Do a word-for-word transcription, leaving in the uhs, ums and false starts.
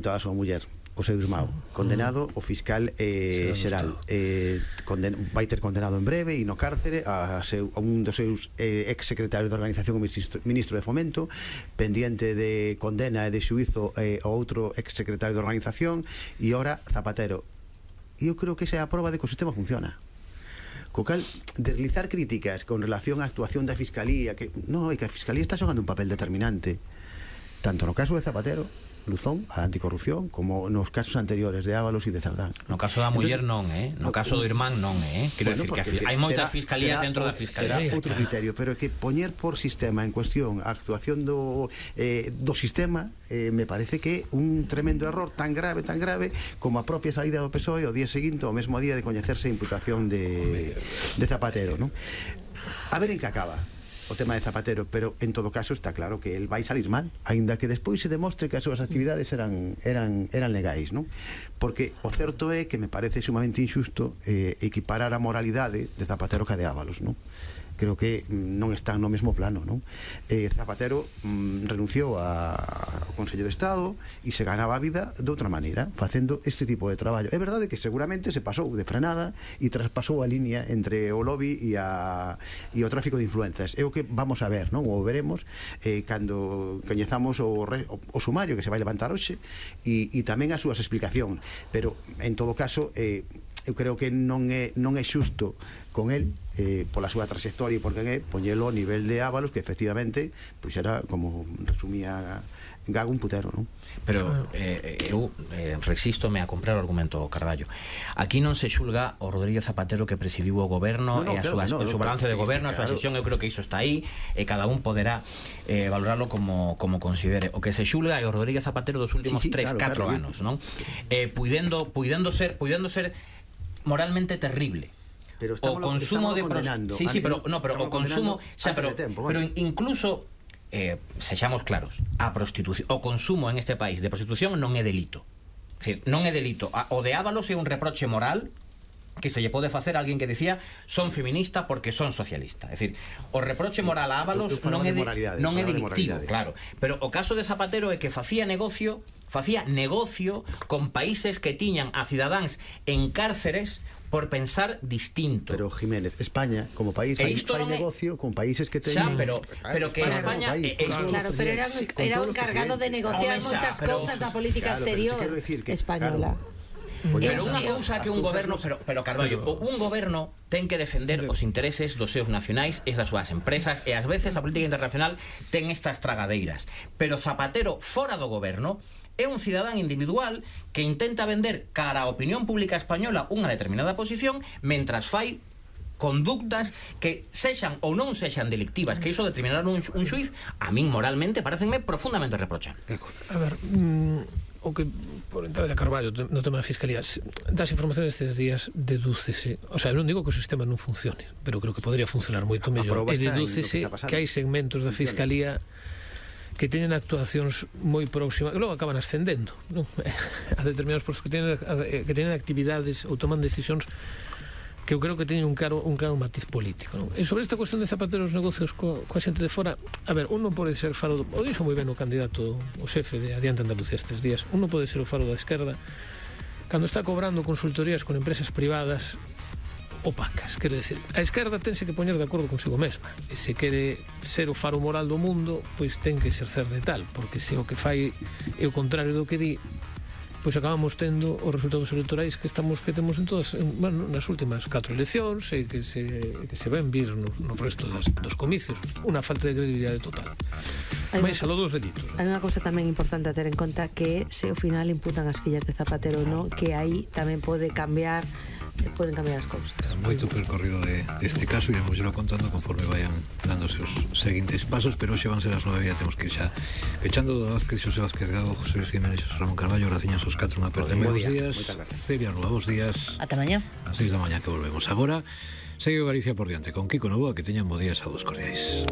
toda a súa muller, o seu irmão, condenado o fiscal eh, xeral eh, conden vai ter condenado en breve e no cárcere a, seu, a un dos seus eh, ex secretarios de organización, o ministro, ministro de Fomento, pendiente de condena e de xuizo eh, o outro ex secretario de organización, e ora Zapatero. E eu creo que esa é a prova de que o sistema funciona. Co cal, deslizar críticas con relación á actuación da Fiscalía, que non, que a Fiscalía está xogando un papel determinante tanto no caso de Zapatero, Luzón, a anticorrupción, como nos casos anteriores de Ábalos e de Cerdán. No caso da muller non, eh? No caso do irmán non, eh? Quero bueno, decir que hai moitas fiscalías dentro da Fiscalía. Terá outro criterio, pero é que poñer por sistema en cuestión a actuación do, eh, do sistema eh, me parece que un tremendo error tan grave, tan grave como a propia saída do P S O E o día seguinte, o mesmo día de coñecerse a imputación de, de Zapatero, non? A ver en que acaba o tema de Zapatero, pero en todo caso está claro que el vai salir mal, aínda que despois se demostre que as súas actividades eran eran eran legais, non? Porque o certo é que me parece sumamente injusto eh, equiparar a moralidade de Zapatero ca de Ábalos, non? Creo que non están no mesmo plano, non? Eh, Zapatero mm, renunciou a, ao Consello de Estado e se ganaba a vida de outra maneira, facendo este tipo de traballo. É verdade que seguramente se pasou de frenada e traspasou a línea entre o lobby e, a, e o tráfico de influencias. É o que vamos a ver, non? Ou veremos eh, cando coñezamos o, re, o, o sumario que se vai levantar hoxe e, e tamén as súas explicacións. Pero, en todo caso, eh, eu creo que non é, non é xusto con el eh, pola súa trayectoria e porque é poñelo ao nivel de Ábalos, que efectivamente pois era, como resumía Gago, un putero, non? Pero eh, eu eh, resístome a comprar o argumento Carballo. Aquí non se xulga o Rodríguez Zapatero que presidiu o goberno, no, no, e a claro, súa, no, o seu balance de goberno, a súa sesión, eu creo que iso está aí e cada un poderá eh, valorarlo como, como considere. O que se xulga é o Rodríguez Zapatero dos últimos sí, sí, tres, claro, catro claro, anos, non? Eh, puidendo, puidendo ser puidendo ser moralmente terrible. Pero o consumo de condenando. Sí, sí, pero no, pero o consumo, o sea, pero, tempo, pero incluso eh, sexamos claros, a prostitución, o consumo en este país de prostitución non é delito. É dicir, non é delito. O de Ábalos é un reproche moral que se lle pode facer a alguén que decía son feminista porque son socialista. É dicir, o reproche moral a Ábalos non é de, non é delictivo, claro. Pero o caso de Zapatero é que facía negocio, facía negocio con países que tiñan a cidadáns en cárceres por pensar distinto. Pero Jiménez, España como país fai, fai negocio con países que teñen... Xa, pero, pero que España... País, eh, claro, claro, pero era, era o encargado de negociar moitas cousas da política claro, exterior que, española. Claro, pero unha cousa que un goberno, pero, pero Carballo, pero, un goberno ten que defender os intereses dos seus nacionais e das súas empresas, e ás veces a política internacional ten estas tragadeiras. Pero Zapatero, fora do goberno, é un cidadán individual que intenta vender cara á opinión pública española unha determinada posición mentras fai conductas que sexan ou non sexan delictivas, que iso determinar un, un xuiz, a min moralmente parecenme profundamente reprochable. A ver, mmm, o que por entrar a Carballo no tema da Fiscalía, das informacións destes días dedúcese, o sea, non digo que o sistema non funcione, pero creo que podría funcionar moito mellor, e dedúcese que, que hai segmentos da Fiscalía que teñen actuacións moi próximas, que logo acaban ascendendo, non? A determinados postos que teñen, que teñen actividades ou toman decisións que eu creo que teñen un claro, un claro matiz político, non? E sobre esta cuestión de Zapatero os negocios co, coa xente de fora, a ver, un non pode ser faro, o dixo moi ben o candidato, o xefe de Adiante Andalucía estes días, un non pode ser o faro da esquerda cando está cobrando consultorías con empresas privadas opacas, quero decir, a esquerda tense que poñer de acordo consigo mesma, e se quere ser o faro moral do mundo, pois ten que exercer de tal, porque se o que fai é o contrario do que di, pois acabamos tendo os resultados electorais que estamos que temos en todas, en, bueno, nas últimas catro eleccións e que se, que se ven vir no, no resto das, dos comicios, unha falta de credibilidade total. Mais a lo dos delitos. Hai unha cousa tamén importante a ter en conta, que se ao final imputan as fillas de Zapatero, non, que aí tamén pode cambiar poden cambiar as cousas. Moito percorrido de, deste caso, iremos xelo contando conforme vayan dando seus seguintes pasos, pero hoxe van ser as nove e temos que ir xa pechando. Do Vázquez, Xosé Vázquez Gago, José Luis Jiménez, Ramón Carballo, graciñas aos catro, unha aperta. Bos días, Celia Rúa, bos días. Ata mañá. A seis da mañá que volvemos. Agora, segue Galicia por diante con Kiko Novoa, que teñan bo días a dos cordiais.